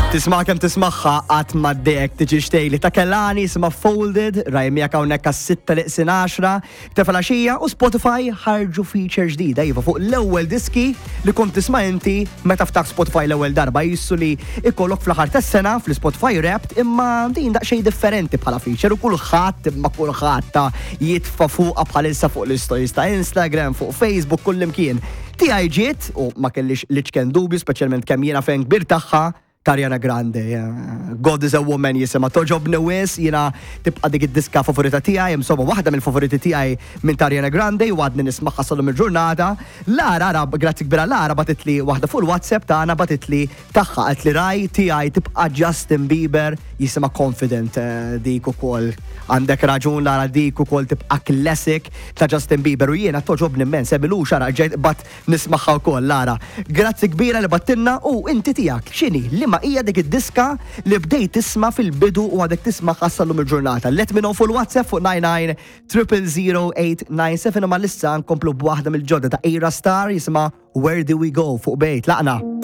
Tisma' kemm tismagħha qatt ma ddejjek tiġi xtejli ta' Kellani jisimha Folded, raj miegħek hawnhekk għas-sitta li qsin għaxra ta' filgħaxija u Spotify ħarġu feature ġdida iva fuq l-ewwel diski li kont tisma' inti meta ftaħt Spotify l-ewwel darba jissu li ikollok fl-aħħar tas-sena fl-Spotify Wrapped imma din daqsxejn differenti bħala feature u kulħadd imma kulħadd ta' jitfa' fuqha bħalissa fuq l-istories ta' Instagram, fuq Facebook, kullimkien. Tiegħi ġiet, u ma kellix l-iċken dubju, speċjalment kemm jiena fan kbir tagħha, ta' Ariana Grande. God is a Woman jisimha. Togħġobni wisq, jiena tibqa' dik id-diska favorita tiegħi, insomma waħda mill-favoriti tiegħi minn ta' Ariana Grande u għadni nismagħha sal-lum il-ġurnata. Lara, ara, grazzi kbira Lara bagħtitli waħda fuq il-WhatsApp tagħna bagħtitli tagħha qaltli Raj tiegħi tibqa' Justin Bieber jisimha Confident dik ukoll. Għandek raġun Lara dik ukoll tibqa' classic ta' Justin Bieber u jiena togħġobni immens Emilux ara ġejt qbadt nismagħha wkoll Lara. Grazzi kbira li bagħtilna u inti tiegħek x'inhi liema hija dik id-diska li bdejt tisma' fil-bidu u għadek tismagħha sal-lum il-ġurnata. Let me know fuq il-WhatsApp fuq 99 000 897 imma issa nkomplu b'waħda mill-ġodda ta' Ayra Starr jisimha Where Do We Go fuq Bejt Laqna.